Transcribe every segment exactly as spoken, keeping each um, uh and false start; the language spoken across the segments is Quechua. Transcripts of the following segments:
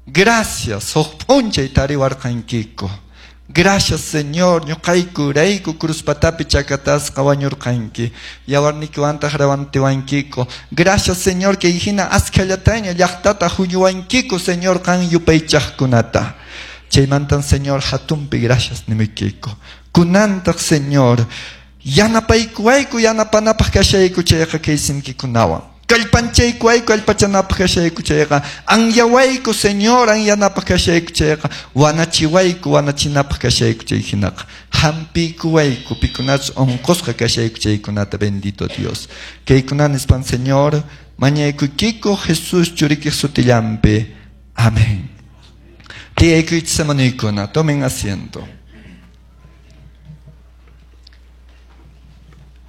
Gracias, huk p'unchay tariwarqankiku. Gracias, Señor, ñuqayku rayku cruz patapi chakatasqa wañurqanki. Yawarnikiwantaq rawantiwankiku. Gracias, Señor, kay hina askallataña llaqtata huñuwankiku, Señor, qan yupaychaqkunata. Chaymantan, Señor, hatunpi gracias nimuykiku. Kunantaq, Señor, yanapaykuwayku yanapanapaq kashayku chayqa kay simkikunawan. Kallpanchaykuwayku kallpachanapaq kashayku chayqa, anyawayku, Señor, anyanapaq kashayku chayqa, wanachiwayku wanachinapaq kashayku chay hinaqa. Hampiykuwayku pikunachus unqusqa kashayku chaykunata, bendito Dios. Kaykuna nispan, Señor, mañaykuykiku Jesús churikiq sutillanpi. Amén. Tiyaykuychis hermanuykuna, tomen asiento.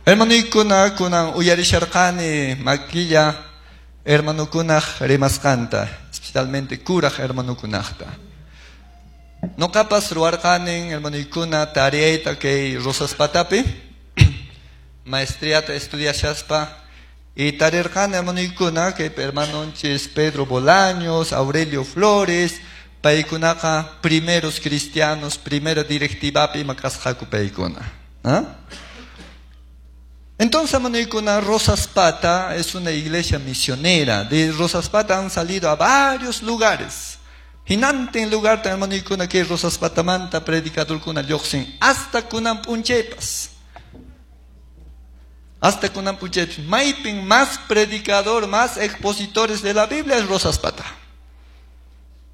Hermanuykuna kunan uyarisharqani makilla hermanukunaq rimasqanta, especialmente kuraq hermanukunaqta. Noqapas ruwarqanin hermanuykuna tareayta kay Rosas Patapi, maestriata estudiashaspa, y tarirqani hermanuykuna kay hermanonchis Pedro Bolaños, Aurelio Flores, paykunaqa primeros cristianos, primera directivapi ima kasqaku paykuna. ¿Ah? Entonces, hermanuykuna, Rosas Pata es una iglesia misionera. De Rosas Pata han salido a varios lugares. Hinantin lugar, hermanuykuna, que Rosas Patamanta predicadorkuna lluqsin hasta kunan p'unchaypas. Hasta kunan p'unchaypas. Maypin más predicador, más expositores de la Biblia es Rosas Pata.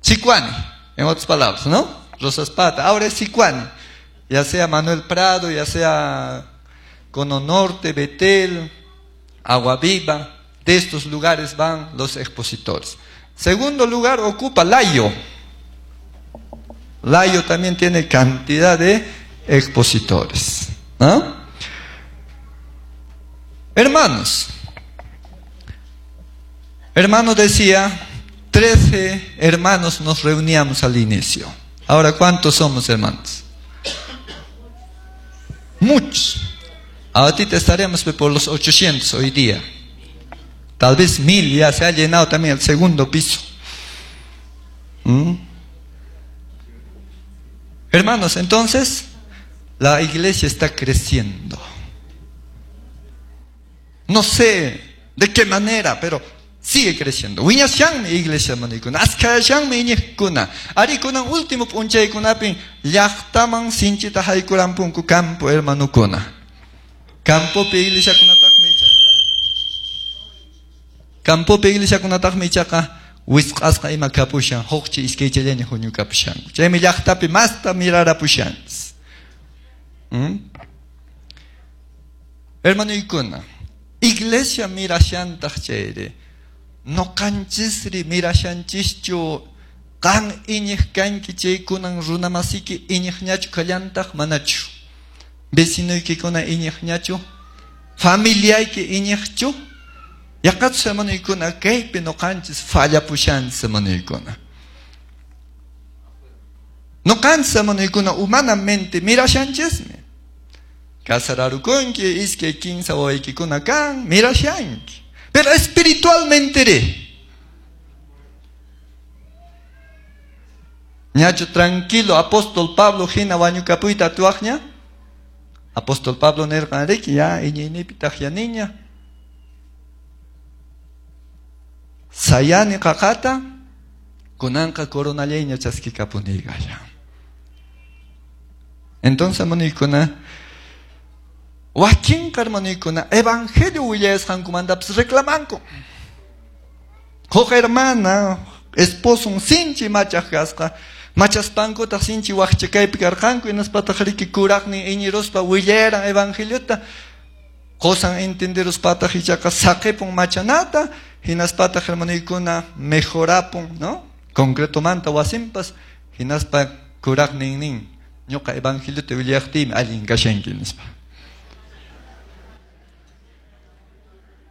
Sicuani, en otras palabras, ¿no? Rosas Pata. Ahora es Sicuani. Ya sea Manuel Prado, ya sea Cono Norte, Betel, Agua Viva, de estos lugares van los expositores. Segundo lugar ocupa Layo. Layo también tiene cantidad de expositores, ¿no? Hermanos, hermano decía, trece hermanos nos reuníamos al inicio. Ahora, ¿cuántos somos, hermanos? Muchos. Ahorita estaremos por los ochocientos hoy día. Tal vez mil, ya se ha llenado también el segundo piso. ¿Mm? Hermanos, entonces, la iglesia está creciendo. No sé de qué manera, pero sigue creciendo. Wiñashanmi iglesia manikuna, askayashanmi iñiqkuna. Arikunan último p'unchaykunapin llaqtaman sinchita haykurampunku campo hermanukuna. Campopi iglesiakunataqmi ichaqa Campopi iglesiakunataqmi ichaqa wisq'asqa ima kapushan, hukchi iskaychallaña huñukapushanku. Chaymi llaqtapi masta mirarapushanchis. ¿Mm? Hermanuykuna, iglesia mirashantaq chayri, noqanchisri mirashanchischu qan iñiq kanki chaykunan runamasiki iñiqñachu kallantaq manachu. Vecinoykikuna iñiqñachu, familiayki iñiqchu. Yaqachus hermanuykuna kaypi noqanchis fallapushanchis hermanuykuna. Noqanchis hermanuykuna humanamente mirashanchismi. Casararukunki, iskay kinsa wawaykikuna kan, mirashanki. Pero espiritualmente re. Ñachu tranquilo apóstol Pablo hina wañukapuyta atuwaqña. Apóstol Pablo nirqan riki ya iñiynipi taqyaniña. Sayani qaqata kunanqa coronallayña chaskikapunigalla. Entonces, hermanuykuna, wakinqa hermanuykuna evangelio willayasqankumantapas reclamanku. Huk hermana esposon sinchi machaq kasqa, machaspankutaq sinchi waqchakaypi karqanku, hinaspataq riki kuraqnin iñiruspa willaran evangeliota, qosan entenderuspataq ichaqa saqipun machanata, hinaspataq hermanuykuna mejorapun, ¿no? Concretomanta wasinpas, hinaspa kuraqnin nin, ñuqa evangeliota willaqtiymi allin kashanki nispa.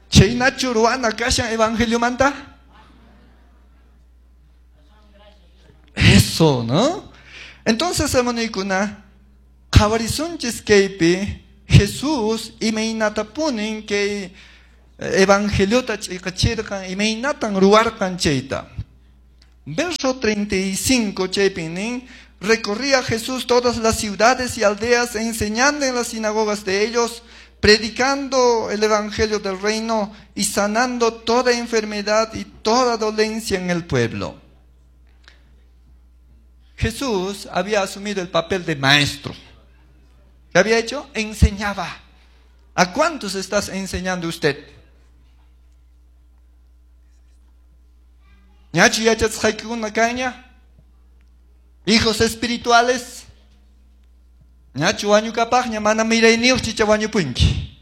Chaynachu ruwana kashan evangeliomanta? Eso, ¿no? Entonces, hermanuykuna, qhawarisunchis kaypi Jesús imaynatapunin kay evangeliota ch'iqachirqan, imaynatan ruwarqan chayta. Verso treinta y cinco, chaypin nin, recorría Jesús todas las ciudades y aldeas, enseñando en las sinagogas de ellos, predicando el evangelio del reino y sanando toda enfermedad y toda dolencia en el pueblo. Jesús había asumido el papel de maestro. ¿Qué había hecho? Enseñaba. ¿A cuántos estás enseñando usted? Ñachu yachachisqaykikuna kanña? Hijos espirituales. Ñachu wañukapaqña mana mirayniyuq chicha wañupunki.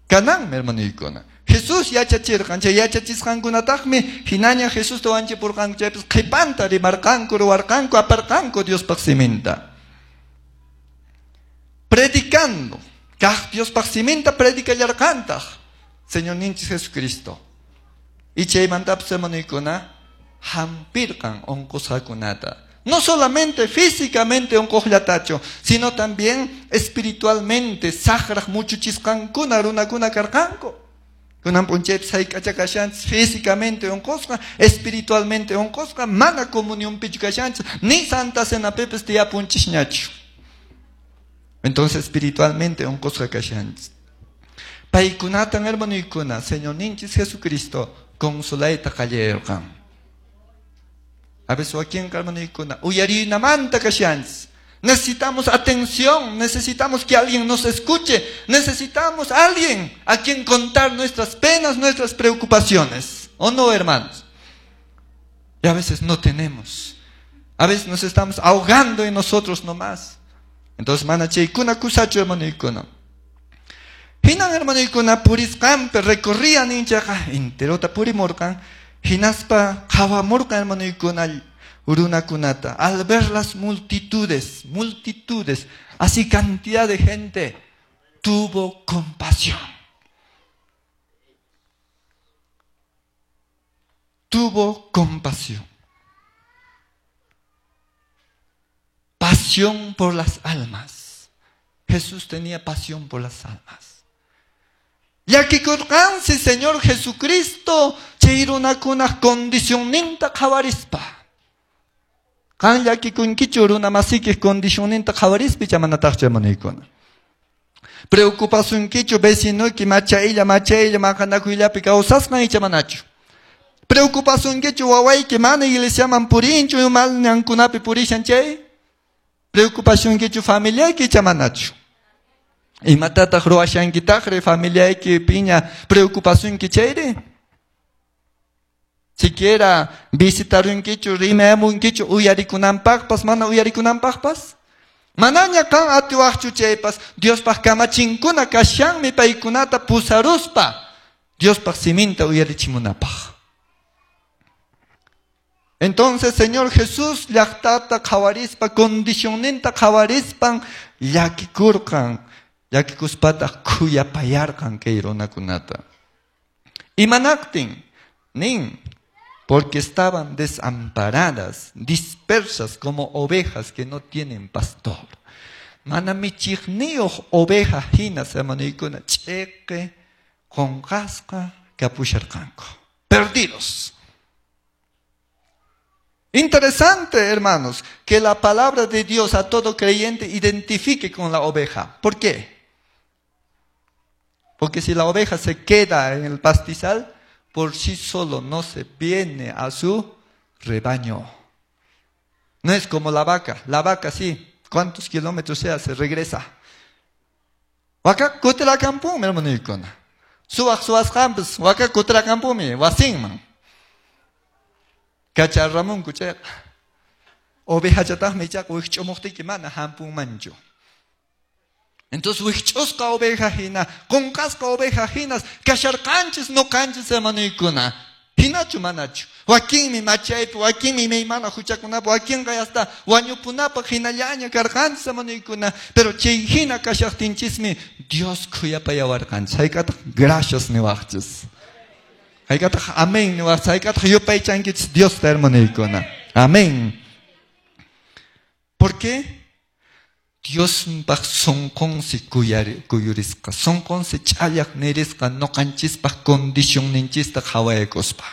Kananmi hermanuykuna. Jesús yachachirqan, chay yachachisqankunataqmi hinaña Jesusta wanchipurqanku chaypis qhipanta rimarqanku, ruwarqanku, aparqanku Diospaq siminta. Predicando, kaq Diospaq siminta predicallarqantaq Señorninchis Jesucristo. Y chaymantapas hermanuykuna hampirqan unqusqakunata. No solamente físicamente unquqllatachu, sino también espiritualmente saqraq muchuchisqankuna runakuna karqanku. Kunan p'unchaypis hayk'acha kashanchis físicamente unqusqa, espiritualmente unqusqa, mana comunionpichu kashanchis, ni Santa Cenapipis tiyapunchisñachu. Entonces espiritualmente unqusqa kashanchis. Paykunatan hermanuykuna, Señorninchis Jesucristo consolayta qallayurqan. A veces wakinqa hermanuykuna uyarinamanta kashanchis. Necesitamos atención, necesitamos que alguien nos escuche, necesitamos a alguien a quien contar nuestras penas, nuestras preocupaciones. ¿O no, hermanos? Y a veces no tenemos. A veces nos estamos ahogando en nosotros nomás. Entonces, mana chaykuna kusachu hermanuykuna. Hinan hermanuykuna purisqanpi recorrían inchaqa enterota purimurqan, hinaspa qhawamurqan hermanuykuna runakunata. Al ver las multitudes, multitudes, así cantidad de gente, tuvo compasión. Tuvo compasión. Pasión por las almas. Jesús tenía pasión por las almas. Llakikurqansi Señor Jesucristo chay runakunaq condicionninta qhawarispa. Qan llakikunkichu runa masikiq condicionninta qhawarispa chamanataqchu hermanuykuna. Preocupasunkichu vecinoyki machaylla machaylla maqanakuyllapi kawsasqan icha manachu. Preocupasunkichu wawayki mana iglesiaman purinchu mal ñankunapi purishan chay. Preocupasunkichu familiayki icha manachu. Imatataq ruwashankitaqri familiayki piña preocupasunki chayri. Siquiera visitarunkichu, rimamunkichu uyarikunanpaqpas, mana uyarikunanpaqpas. Manaña qan atiwaqchu chaypas, Diospaq kamachinkuna kashanmi paykunata pusaruspa, Diospaq siminta uyarichimunapaq. Entonces, Señor Jesús llaqtata qhawarispa, condicionninta qhawarispan llakikurqan, llakikuspataq khuyapayarqan kay runakunata. Imanaqtin nin, porque estaban desamparadas, dispersas como ovejas que no tienen pastor. Mana michiqniyuq oveja hinas hermanuykuna ch'iqi qunqasqa kapusharqanku. Perdidos. Interesante, hermanos, que la palabra de Dios a todo creyente identifique con la oveja. ¿Por qué? Porque si la oveja se queda en el pastizal, por sí solo no se viene a su rebaño. No es como la vaca. La vaca sí, cuántos kilómetros sea, se regresa. Waka kutirakampunmi, hermanuykuna. Suwaq suwasqanpis waka kutirakampunmi wasinman. Kacharramunku chayqa. Ovejachataqmi ichaqa wikch'umuqtiyki mana hampunmanchu. Entonces wikch'usqa oveja hina, qunqasqa oveja hinas, kasharqanchis nuqanchis hermanuykuna. Hinachu manachu. Wakinmi machaypi, wakinmi imaymana huchakunapi, wakinqa hasta wañupunapaq hinallaña karqanchis hermanuykuna. Pero chay hina kashaqtinchismi Dios khuyapayawarqanchis. Hayk'ataq gracias niwaqchis. Hayk'ataq amén niwaqchis. Hayk'ataq yupaychankichis Diosta hermanuykuna. Amén. ¿Por qué? Diospaq sunqunsi kuyurisqa, sunqunsi ch'allaq nirisqa nuqanchispaq condicionninchista qhawaykuspa.